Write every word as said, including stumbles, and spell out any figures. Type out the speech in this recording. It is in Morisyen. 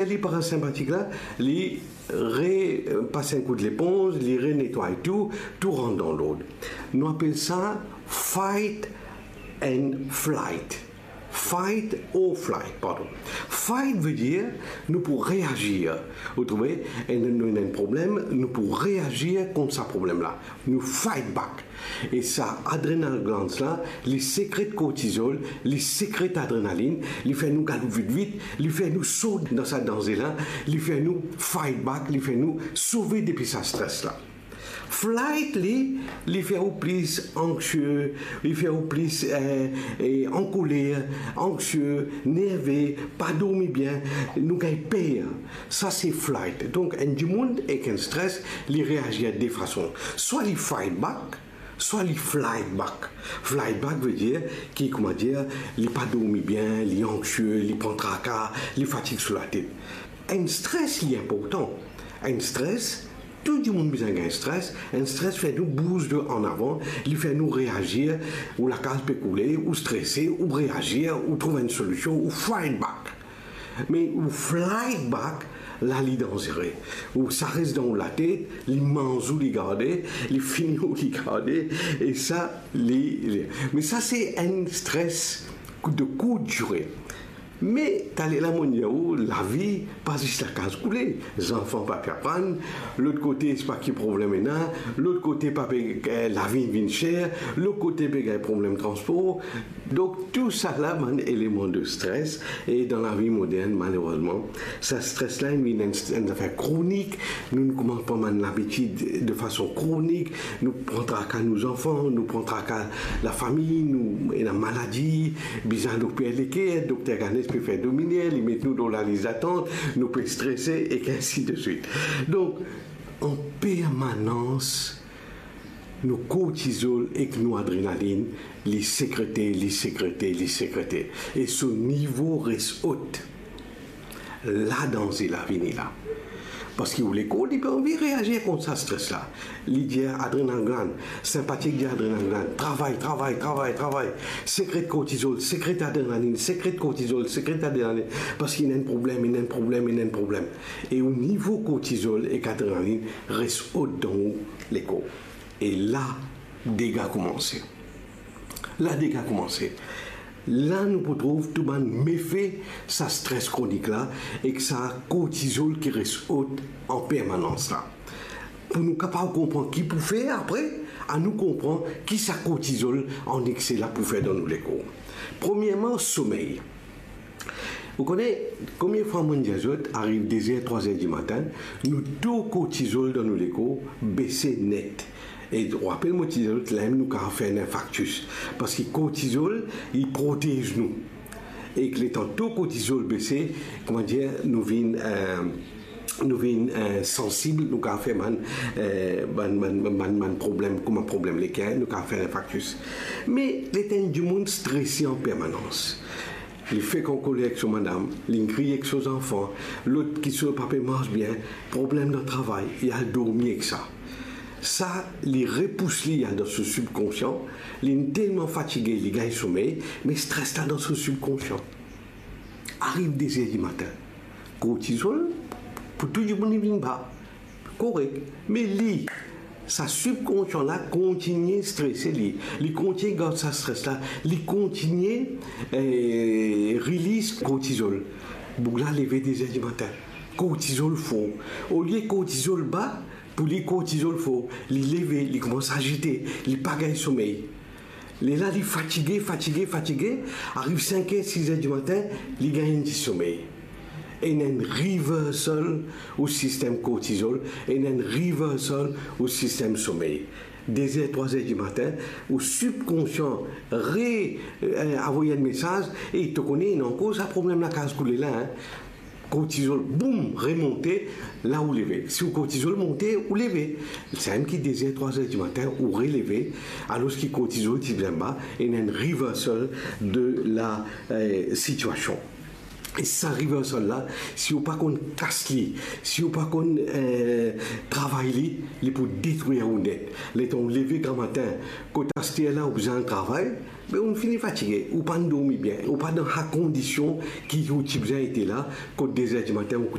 Li parasenpatik la, li repas enn kout leponz, li renetway tou, tou rant dan lord. Nou apel sa fight and flight. Fight or flight, pardon. Fight vedir nou pou reazir. Ou trouve, enn, nou ena enn problem, nou pou reazir kont sa problem la. Nou fight back. E sa adrenal glands la, li sekret kortizol, li sekret adrenalin, li fer nou galoup vit vit, li fer nou sot dan sa danze la, li fer nou fight back, li fer nou sove depi sa stres la. Flight li, li fer ou plis anxie, li fer ou plis, eh, eh, ankoler, anxie, nerve, pa dormi bien, nou gagn per. Sa se flight. Donk, enn dimoun ek enn stres, li reazir de fason. Swa li fight back, swa li flight back. Flight back vedir ki, koumadir, li pa dormi bien, li anxie, li pran traka, li fatig sou latet. Enn stres, li inportan. Enn stres, tou dimoun bizin gagn stres. Enn stres fer nou bouz de an avan, li fer nou reazir, ou lakaz pe koule, ou strese, ou reazir, ou trouv enn solision, ou fight back. Me ou flight back, la li danzere. Ou sa res dan ou latet, li manz ou, li garde, li fini ou, li garde, e sa, li, li. Me sa se enn stres de kourt dire. Me taler la mo dir ou, lavi pa zis lakaz koule. Zanfan pa pe aprann, lot kote se pa ki problem ena, lot kote pa pe, eh, lavi vinn ser, lot kote pe gagn problem transpor. Donk, tou sa la, bann eleman de stres, e dan lavi modern, malerezman, sa stres la, li vinn enn, enn zafer kronik. Nou, nou koumans pran bann labitid de fason kronik, nou pran traka nou zanfan, nou pran traka lafami, nou ena maladi, bizin al oper leker, dokter Ganes pe fer dominer, li met nou dan lalis datant, nou pe strese, ek ainsi de suite. Donk, an permanans, nou kortizol ek nou adrenalin, li sekrete, li sekrete, li sekrete. E so nivo res ot. La danze la vini la. Parski ou lekor, li pa anvi reazir kont sa stres la. Li dir adrenal gland, senpatik dir adrenal gland, travay, travay, travay, travay. Sekret kortizol, sekret adrenalin, sekret kortizol, sekret adrenalin. Parski ena enn problem, ena enn problem, ena enn problem. E ou nivo kortizol ek adrenalin res ot dan ou lekor. E la, dega koumanse. La, dega koumanse. La, nou pou trouv tou bann mefe sa stres kronik la ek sa kortizol ki res ot an permanans la. Pou nou kapav konpran ki pou fer apre, anou konpran ki sa kortizol an ekse la pou fer dan nou lekor. Premierman, somey. Ou kone, konbien fwa mo'nn dir zot, ariv de zer, trwa zer dimatin, nou to kortizol dan nou lekor bese net. E ou rapel mo ti dir zot, lamem nou kapav fer enn infarktis. Parski kortizol, li protez nou. Ek letan to kortizol bese, koumadir, nou vinn, eh, nou vinn, eh, sansib, nou kapav fer bann, eh, bann, bann, bann, bann problem, kouma problem leker, nou kapav fer infarktis. Me letan enn dimoun strese an permanans, li fek ankoler ek so madam, li kriy ek so zanfan, lot ki so pa pe mars bien, problem dan travay, li al dormi ek sa. Sa, li repous li al dan so sibkonsian, li telman fatige, li gagn somey, me stres la dan so sibkonsian. Ariv de zer dimatin, kortizol, pou tou dimoun li vinn ba. Korek. Me li, sa sibkonsian la kontigne strese li. Li kontigne gard sa stres la. Li kontigne, eh, release kortizol. Boug la leve de zer dimatin. Kortizol for. Olie kortizol ba, pou li kortizol for. Li leve, li koumans azite, li pa gagn somey. Lerla li fatige, fatige, fatige, ariv sink er, sis er dimatin, li gagn enn ti somey. Ena enn reversal ou sistem kortizol, ena enn reversal ou sistem somey. De zer, trwa zer dimatin, ou sibkonsian re, eh, avoy enn mesaz, e to kone, ena ankor sa problem lakaz koule la, hein. Kortizol, boum, remonte, la ou leve. Si ou kortizol monte, ou leve. Samem ki de zer, trwa zer dimatin, ou releve, alor ki kortizol ti bien ba, ena enn reversal de la, eh, sitiasion. E sa riversal la, si ou pa konn kas li, si ou pa konn, eh, travay li, li pou detrir ou net. Letan ou leve gramatin, kot aster la ou bizin al travay, be ou fini fatige, ou pa dormi bien, ou pa dan sa kondision ki ou ti bizin ete la, kot de zer dimatin ou